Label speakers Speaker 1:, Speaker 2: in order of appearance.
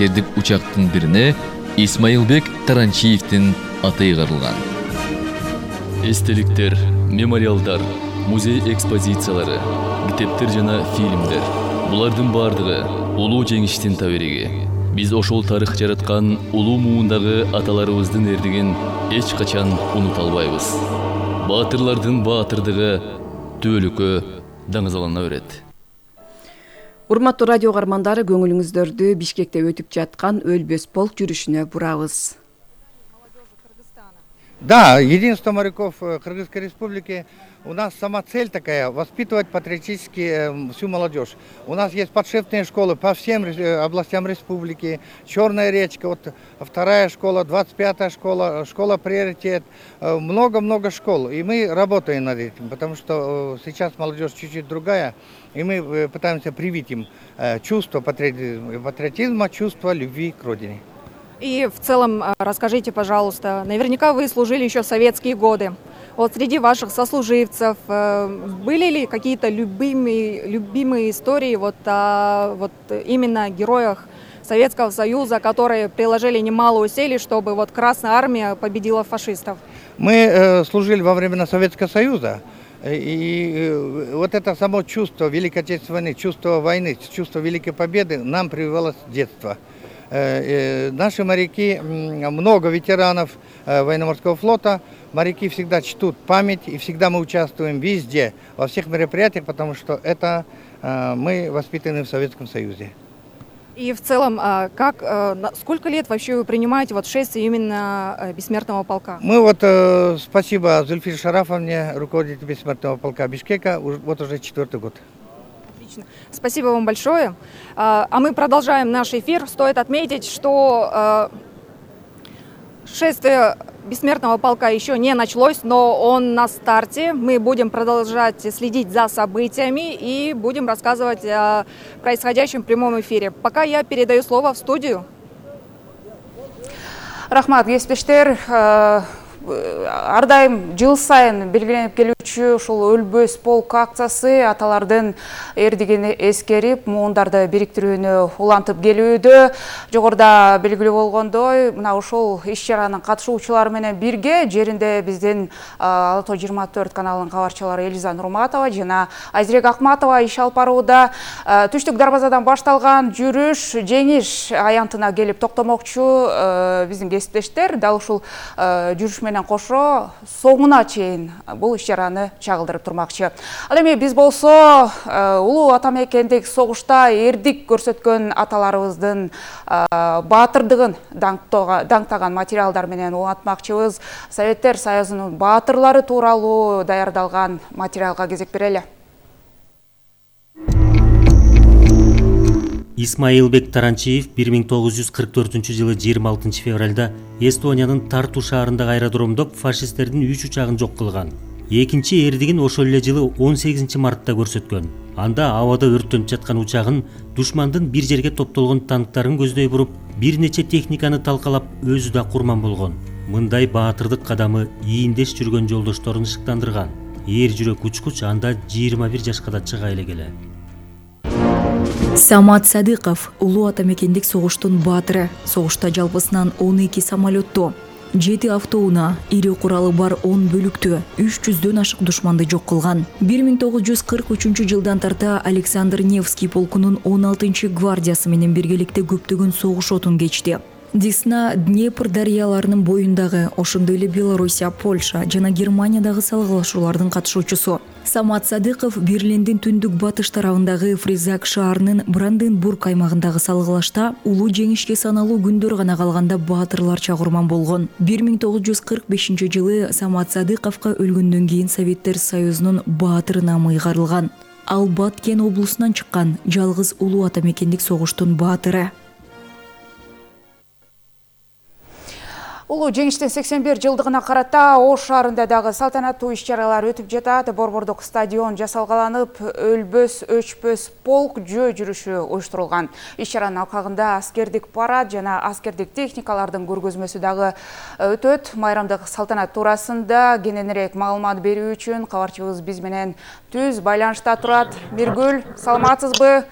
Speaker 1: Эрдик учактын бирине Исмаилбек Таранчиевдин аты ыйгарылган. Эстеликтер, мемориалдар, музей экспозициялары, китептер жана фильмдер. Булардын бардыгы улуу жеңиштин табириги. Биз ошол тарых жараткан улуу муундагы аталарыбыздын эрдигин эч качан унута албайбыз. Баатырлардын баатырдыгы түбөлүккө даңазалана берет.
Speaker 2: Урматтуу радио каармандары, көңүлүңүздөрдү Бишкекте өтүп жаткан Өлбөс полк жүрүшүнө бурабыз.
Speaker 3: Да, единство моряков Кыргызской Республики. У нас сама цель такая — воспитывать патриотически всю молодежь. У нас есть подшефные школы по всем областям республики. Черная речка, вот 2-я школа, 25-я школа, школа приоритет. Много-много школ. И мы работаем над этим, потому что сейчас молодежь чуть-чуть другая. И мы пытаемся привить им чувство патриотизма, чувство любви к родине.
Speaker 4: И в целом расскажите, пожалуйста, наверняка вы служили еще в советские годы. Вот среди ваших сослуживцев были ли какие-то любимые истории вот именно героях Советского Союза, которые приложили немало усилий, чтобы вот Красная Армия победила фашистов?
Speaker 3: Мы служили во времена Советского Союза. И вот это само чувство Великой Отечественной войны, чувство войны, чувство Великой Победы нам прививалось с детства. Наши моряки, много ветеранов военно-морского флота, моряки всегда чтут память, и всегда мы участвуем везде, во всех мероприятиях, потому что это мы воспитаны в Советском Союзе.
Speaker 4: И в целом, сколько лет вообще вы принимаете вот шествие именно Бессмертного полка?
Speaker 3: Мы вот, спасибо Зульфире Шарафовне, руководителю Бессмертного полка Бишкека, вот уже 4-й год.
Speaker 4: Спасибо вам большое. А мы продолжаем наш эфир. Стоит отметить, что шествие Бессмертного полка еще не началось, но он на старте. Мы будем продолжать следить за событиями и будем рассказывать о происходящем в прямом эфире. Пока я передаю слово в студию.
Speaker 5: Рахмат, кесиптештер. Ар дайым жыл сайын белгиленип келүүчү ушул Өлбөс полк акциясы аталардын эрдигин эскерип, муундарды бириктирүүнү улантып келүүдө. Жогоруда белгилүү болгондой, мына ушул иш-чаранын катышуучулары менен бирге жеринде биздин Ала Тоо 24 каналынын кабарчылары Элиза Нурматова жана Айзирек Акматова иш алып барууда. Түштүк дарбазадан башталган жүрүш жеңиш аянтына келип токтомокчу биздин кесиптештер. Дал ушул жүрүш менен кошо соңуна чейин бул иш-чараны чагылдырып турмакчы. Ал эми биз болсо улуу ата мекендик согушта эрдик көрсөткөн аталарыбыздын баатырдыгын даңктаган материалдар менен улантмакчыбыз. Советтер Союзунун баатырлары тууралуу даярдалган материалга кезек берели.
Speaker 6: Исмаилбек Таранчиев 1944-жылы 26 февралда Эстониянын Тарту шаарындагы аэродромдо фашисттердин 3 учагын жок кылган. Экинчи эрдигин ошол эле жылы 18 мартта көрсөткөн. Анда абада өрттөнүп жаткан учагын душмандын бир жерге топтолгон танктарын көздөй буруп, бир нече техниканы талкалап, өзү да курман болгон. Мындай баатырдык кадамы ийиндеш жүргөн жолдошторун ышыктандырган. Эр жүрөк учкуч анда 21 жашка да чыга элегеле.
Speaker 7: Самат Садыков улуу ата мекендик согуштун баатыры. Согушта жалпысынан 12 самолетту, 7 автоунаа, ири куралы бар 10 бөлүктү, 300дөн ашык душманды жок кылган. 1943-жылдан тарта Александр Невский полкунун 16 гвардиясы менен биргеликте көптөгөн согуш отун кечти. Десна Днепр дарыяларынын боюндагы, ошондой эле Белоруссия, Польша жана Германиядагы салгылашуулардын катышуучусу. Самат Садыков Берлиндин түндүк батыш тарабындагы Фризак шаарынын Бранденбург аймагындагы салгылашта улуу жеңишке саналуу күндөр гана калганда баатырларча курман болгон. 1945-жылы Самат Садыковго өлгөндөн кийин Советтер Союзунун баатыр намы ыйгарылган. Ал Баткен облусунан чыккан жалгыз улуу ата мекендик согуштун баатыры.
Speaker 5: Улуу жеңиштин 81 жылдыгына карата Ош шаарында дагы салтанаттуу иш-чаралар өтүп жатат. Борбордук стадион жасалгаланып, Өлбөс өчпөс полк жөө жүрүшү уюштурулган. Иш-чаранын алкагында аскердик парад жана аскердик техникалардын көргөзмөсү дагы өтөт. Майрамдык салтанат туурасында кененирээк маалымат берүү үчүн кабарчыбыз биз менен түз байланышта турат. Миргүл, саламатсызбы?